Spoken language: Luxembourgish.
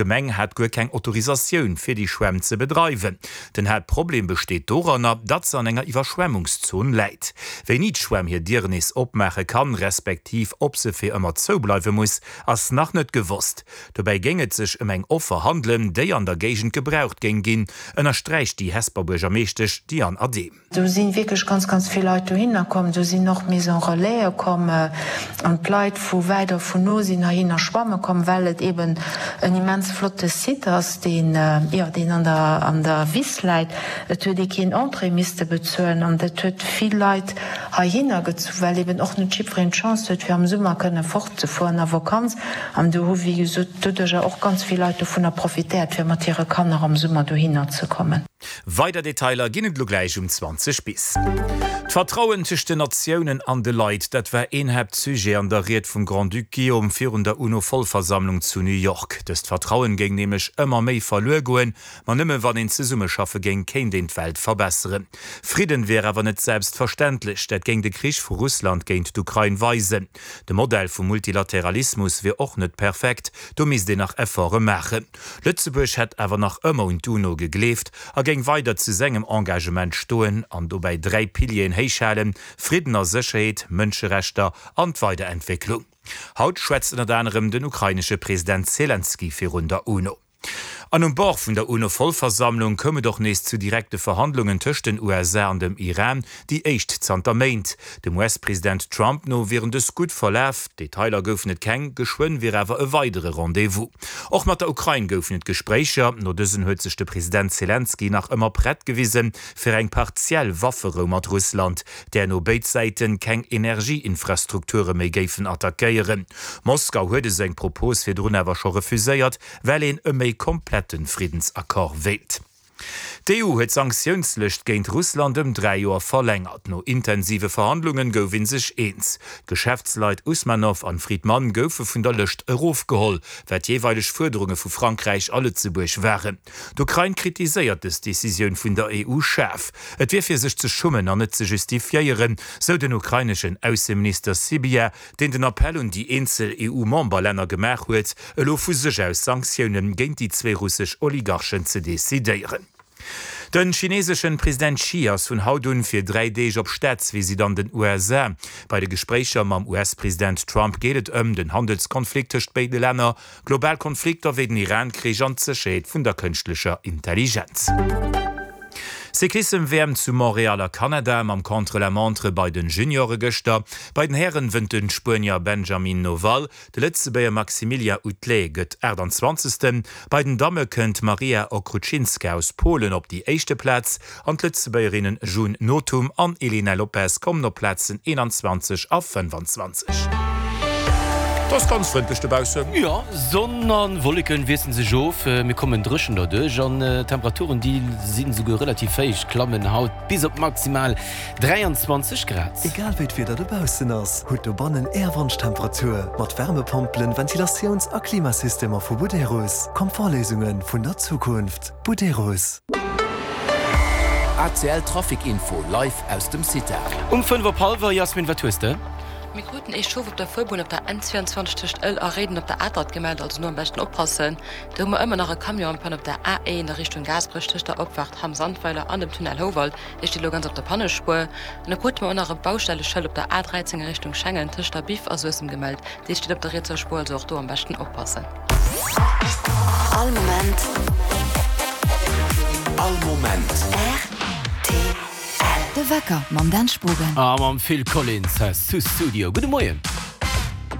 D'Gemeng hat guer keng Autorisatioun, fir déi Schwämm ze bedreiwen. Den Haaptproblem besteet doranner, datt se an enger Iwwerschwemmungszon läit. Wéini d'Schwämm hir Dieren nees opmaache kann, respektiv ob se fir ëmmer zoubleiwe muss, ass nach net gewosst. Dobäi géing et sech ëm eng Offer handelen, déi an der Géigend gebraucht géing ginn, ënnersträicht déi Hesper Buergermeeschtesch Diane Adehm. Do si wierklech ganz, ganz vill Leit dohinner komm. Do sinn och Maisons Relaise komm an d'Leit vu wäit a vun no sinn heihinner schwamme komm, well et eben en immens flotte Site ass, deen, jo, deen an der, an der Wiss läit. Et huet ee keen Entrée misste bezuelen an dat huet vill Leit heihinner gezu, well eben och net jiddwereen d'Chance huet, fir am Summer kënne fortzefueren a Vakanz. An do hu wéi gesot doduercher och ganz vill Leit dovunner profitéiert, fir mat hire Kanner am Summer dohinner ze kommen. Weider Detailer ginn et elo gläich um 20 bis. D'Vertrauen tëscht den Natiounen an de Leit, dat war een Haaptsujet an der Ried vum Grand-Duc Guillaume virun der UNO-Vollversammlung zu New York. Dëst Vertrauen géing nämlech ëmmer méi verluer goen, ma nëmme wann een zesummeschaffe géing, kéint een d'Welt verbesseren. Fridden wier awer net selbstverständlech, dat géing de Krich vu Russland géint d'Ukrain weisen. De Modell vum Multilateralismus wier och net perfekt, do misst een nach Efforte maachen. Lëtzebuerg hätt awer nach ëmmer un d'UNO gegleeft a géing weider zu sengem Engagement stoen an dobäi 3 Pilieren héichhalen, Fridden a Sécherheet, Mënscherechter an d'Weiderentwécklung. Haut schwätzt ënnert anerem den ukrainesche President Selenskyj virun der UNO. An um Bord vun der UNO-Vollversammlung koum et och nees zu direkte Verhandlungen tëscht den USA an dem Iran, déi éischt zanter Méint. Dem US-President Trump no wieren dës gutt verlaf, Detailer goufen et keng, geschwënn wier awer e weidere Rendez-vous. Och mat der Ukrain goufen et Gespréicher. No dësen huet sech de President Selenskyj nach ëmmer prett gewisen, fir eng partiell Wafferou mat Russland, där no béid Säiten keng Energieinfrastrukture méi géifen attackéieren. Moskau huet esou eng Propos virdrun awer scho refuséiert, well een e méi komplette Friddensaccord wéilt. D'EU huet d'Sanktiounslëscht géint Russland ëm 3 Joer verlängert. No intensive Verhandlungen gouf ee sech eens. D'Geschäftsleit Usmanov an Fridman goufe vun der Lëscht erofgeholl, wat jeeweileg Fuerderunge vu Frankräich a Lëtzebuerg waren. D'Ukrain kritiséiert dës Decisioun vun der EU schaarf. Et wier fir sech ze schummen an net ze justifiéieren, sou den ukraineschen Ausseminister Sybiha, deen den Appell un déi eenzel EU-Memberlänner gemaach huet, elo vu sech aus Sanktioune géint déi zwee russesch Oligarchen ze decidéieren. De chineseschen President Xi ass vun haut un fir 3 Deeg op Staatsvisitt an den USA. Bei de Gespréicher mam US-President Trump geet et ëm den Handelskonflikt tëscht béide Länner, global Konflikter wéi den Iran-Krich an d'Sécherheet vun der kënschtlecher Intelligenz. Cyclissem-WM zu Montréal a Kanada mam Contre-la-montre bei den Juniore gëschter. Bei den Hären wënnt den Spuenier Benjamin Noval. De Lëtzebuerger Maximilien Outlé gëtt 28. Bei den Damme kënnt d'Maria Okrucinska aus Polen op déi éischte Plaz an d'Lëtzebuergerinnen June Nothum an Elena Lopes kommen op Plazen 21 a 25. Et ass ganz frëndlech dobaussen. Jo, Sonn a Wolleken wiesselen sech of, mir kommen dréchen derduerch an d'Temperaturen déi sinn esouguer relativ héich, klammen haut bis op maximal 23 Grad. Egal wéi d'Wieder dobaussen ass, hutt dobannen Är Wonschtemperatur mat Wärmepompelen, Ventilatiouns a Klimasystemer vu Buderus. Komfortléisunge vun der Zukunft. Buderus. ACL Trafic Info live aus dem CITA. Um 5 op hallwer, Jasmin, wat hues de? Mir kruten ee Chauffe op der Fuerbunn op der N22 tëscht Ëll a Réiden op der Atert gemellt, also no am beschten oppassen. Do hu mer ëmmer nach e Camion en panne op der A1 a Richtung Gaasperech tëscht der Opfaart Hamm-Sandweiler an dem Tunnel Houwald. Dee steet elo ganz op der Pannespuer. An da krute mer och nach e Baustelleschëld op der A13 a Richtung Schengen tëscht der Biff a Suessem gemellt. Dee steet op der rietser Spuer, also och do am beschten oppassen. All Moment. All Moment. Rtl. De Wecker mam Dan Spogen. A mam Phil Collins hei zu Studio. Gudde Moien.